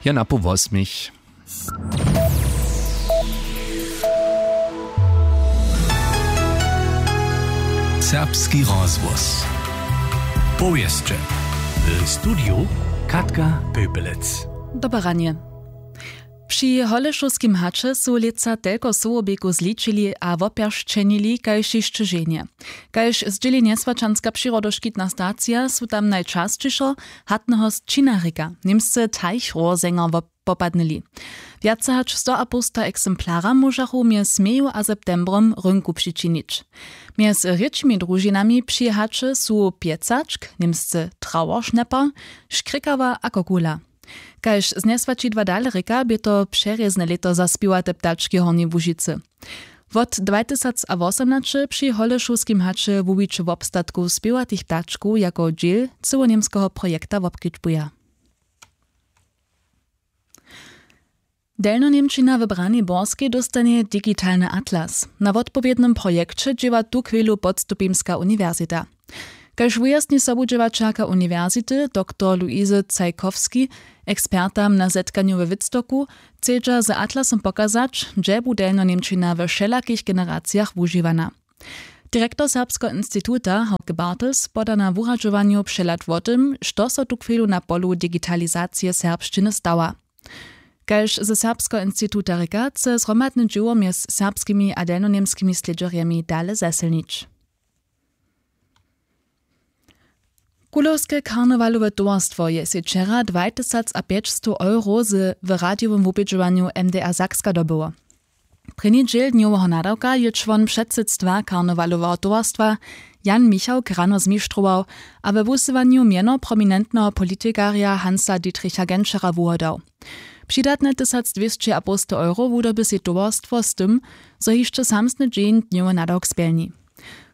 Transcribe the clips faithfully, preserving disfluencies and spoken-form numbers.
Ena po wosmich. Serbski rozhłos. Powěsće. W studiju Katka Pöpelec. Dobre ranje. Při Holešowskim haće su lětsa telko sołobikow zličili a wopjeršćenili kaž hišće ženje. Kaž zdźěli njeswaćanska přirodoškitna stacija, su tam najčasćišo hatneho sćinarika, němsce Teichrohrsänger, wop-, popadnyli. Wjace hač sto a połsta ekzemplaram móžachu mjez meju a septembrom rynku přičinić. Mjez rěčimi družinami při haće su pjecačk, němsce Trauerschnäpper, škrěkawa a kokula. Kaž znjeswaćidła dale rěka, bě to přerězne lěto za spěwate ptački w Hornjej Łužicy. Wot dwatysacawosomnaće při Holešowskim haće wuwiće wobstatkow spěwatych ptačkow jako dźěl cyłoněmskeho projekta wobkedźbuja. Delnjoněmčina w Braniborskej dóstanje digitalny atlas. Na wotpowědnym projekće dźěła tuchwjelu Podstupimska uniwersita. Kaž wujasni sobudźěłaćerka uniwersity, doktor Luise Cajkowski, ekspertam na zetkanju we Wittstocku chcedźa z atlasom pokazać, hdźe bu delnjoněmčina we wšelakich generacijach wužiwana. Direktor Serbskeho instituta Hauke Bartels poda na wuradźowanju přehlad wo tym, što so tuchwjelu na polu digitalizacije serbšćiny stała. Kaž ze Serbskeho instituta rěka, chce zhromadne dźěło mjez serbskimi a delnjoněmskimi slědźerjemi dale zesylnić. Kulowske karnewalowe towarstwo je sej wčera dwatysacapjećstow euro z w radijowym wubědźowanju M D R Sakska dobyło. Prěni dźěl dnjoweho nadawka je čłon předsydstwa karnewaloweho towarstwa Jan Michałk rano zmištrował a we wusyłanju mjeno prominentneho politikarja Hansa Dietricha Genschera wuhladał. Přidatne tysacdwěsćiapołstow euro wudyrbi sej towarstwo z tym, zo hišće samsny dźeń dnjowy nadawk spjelni.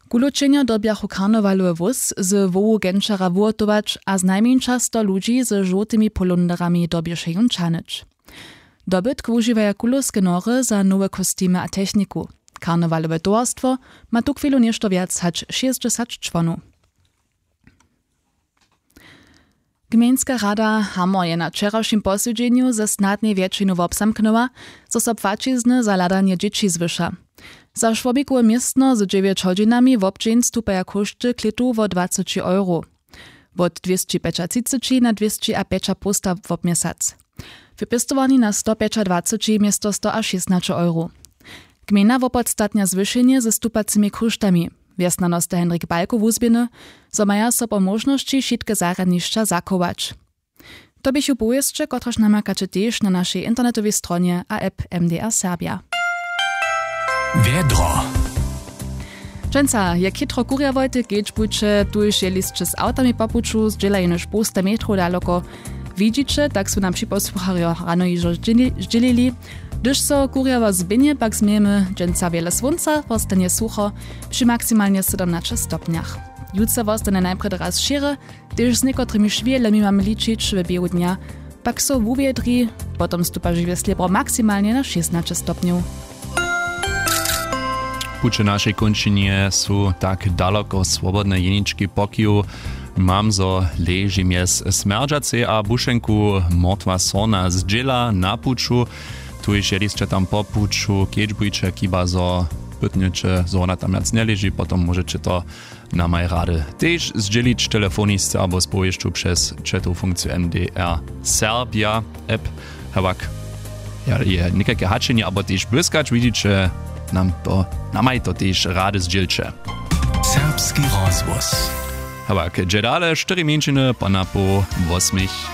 Kulow ćehnjo dyrbjachu karnewalowy wóz z wołu Genschera wuhotować a znajmjeńša sto ludźi ze žołtymi polunderami dyrbješe jón ćahnyć. Dobytk wužiwaja kulowske nory za nowe kostimy a techniku. Karnewalowe towarstwo ma tuchwjelu něšto wjac hač šěsćdźesat čłonow. Gmejnska rada Hamor je na wčerawšim posedźenju ze snadnej wjetšinu wobzamknyła, zo so płaćizny za hladanje dźěći zwyša. Za šłobikowe městno z dźewjeć hodźinami wobdźeń stupaja kóšty klětu wo dwaceći euro, wot dwěsći pjećatřiceći na dwěsći a pjećapołsta wobměsac, w pěstowarni na sto pjećadwaceći město sto a šěsnaće euro. Gmejna wopodstatnja zwyšenje ze stupacimi kóštami. Wjesnjanosta Henrik Balko wuzběhny, zo maja so po móžnosći wšitke zarjadnišća zachować. To běchu powěsće, kotrež namakaće tež na našej internetowej stronje a app M D R Serbia. Wjedro. Dźensa je chitro kurjawojte, kedźbujće, tuž jeli sće z awtami po puću, zdźěla jenož połsta metrow daloko. Widźiće, tak su nam připosłucharjo rano hižo zdźěli-, zdźělili. Hdyž so kurjawo zběhnje, pak změjemy dźensa wjele słónca, wostanje sucho při maksimalnje sydomnaće stopnjach. Jutře wostanje najprjedy raz šěry, tež z někotrymi šwělemi mamy ličić w běhu dnja, pak so wuwjedri, potom stupa žiwje slěbro maksimalnje na šěsnaće stopnjow. Puće našej kónčinje su tak daloko swobodne jenički pokiw. Mam zo leži mjez Smjerdźacej a Bušenku Mortwa Sorna zdźěla na puću. Tuž jeli sće tam po puću, kedźbujće, chiba zo pytnjeće, zo wona tam wjac njeleži, potom móžeće to namaj rady tež zdźělić telefonisce abo z powěsću přez chatowu funkciju M D R Serbia app. Hewak, ja, je někajke hačenje abo tež błyskać, widźiće, nam to, namaj to tež rady zdźělće. Serbski rozhłos. Hewak, dźe dale, štyri mjeńšiny po napoł wosmich.